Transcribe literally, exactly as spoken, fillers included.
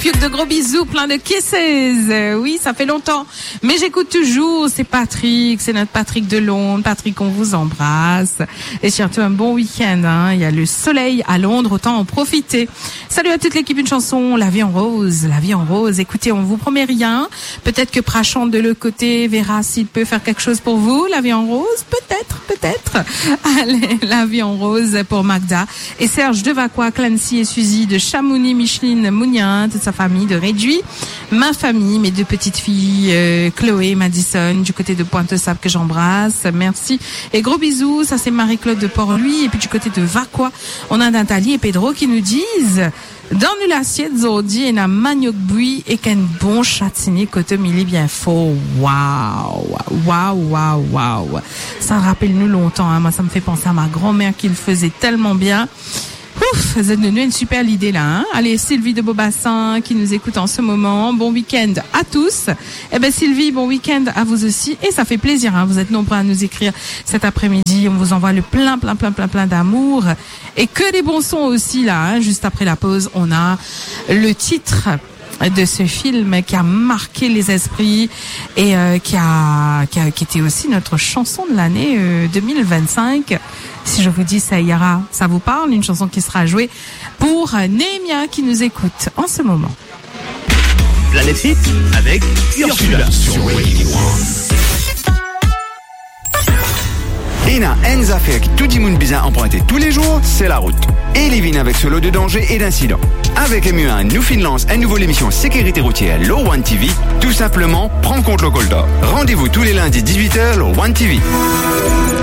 Fiouk, de gros bisous, plein de kisses. Euh, oui, ça fait longtemps, mais j'écoute toujours. C'est Patrick, c'est notre Patrick de Londres. Patrick, on vous embrasse. Et surtout, un bon week-end, hein. Il y a le soleil à Londres, autant en profiter. Salut à toute l'équipe, une chanson, La vie en rose, La vie en rose. Écoutez, on vous promet rien. Peut-être que Prashant de l'autre côté verra s'il peut faire quelque chose pour vous. La vie en rose, peut-être, peut-être. Allez, La vie en rose pour Magda. Et Serge de Vacoas, Clancy et Suzy de Chamouni, Micheline, Mougnin, toute sa famille de Réduit, ma famille, mes deux petites filles, euh, Chloé et Madison, du côté de Pointe-aux-Sables que j'embrasse. Merci. Et gros bisous, ça c'est Marie-Claude de Port-Louis. Et puis du côté de Vacoas, on a Nathalie et Pedro qui nous disent, dan nou lasiet zordi ena maniok bwi ek enn bon chatini kotomili bien for. Waouh, waouh, waouh, waouh. Ça rappelle nous longtemps, hein. Moi, ça me fait penser à ma grand-mère qui le faisait tellement bien. Ouf, zot donn nou une super idée là, hein. Allez, Sylvie de Beaubassin qui nous écoute en ce moment. Bon week-end à tous. Eh ben, Sylvie, bon week-end à vous aussi. Et ça fait plaisir, hein. Vous êtes nombreux à nous écrire cet après-midi. On vous envoie le plein, plein, plein, plein, plein d'amour. Et que des bons sons aussi là, hein. Juste après la pause, on a le titre de ce film qui a marqué les esprits et, euh, qui a, qui a, qui était aussi notre chanson de l'année, euh, deux mille vingt-cinq. Si je vous dis Ça ira, ça vous parle, une chanson qui sera jouée pour, euh, Nehemia qui nous écoute en ce moment. Planète Hit avec Ursula sur Radio One. Ena enn zafer ki tou dimoun bizin anprinte toulezour, se larout. E li vinn avek so lo de danze e dinsidan. Avek M U A, nou finn lans enn nouvo lemision sekirite routier lor One T V, tou sinpleman, pran kont lor koltar. Randevou tou le lindi diz-wit er lor One T V.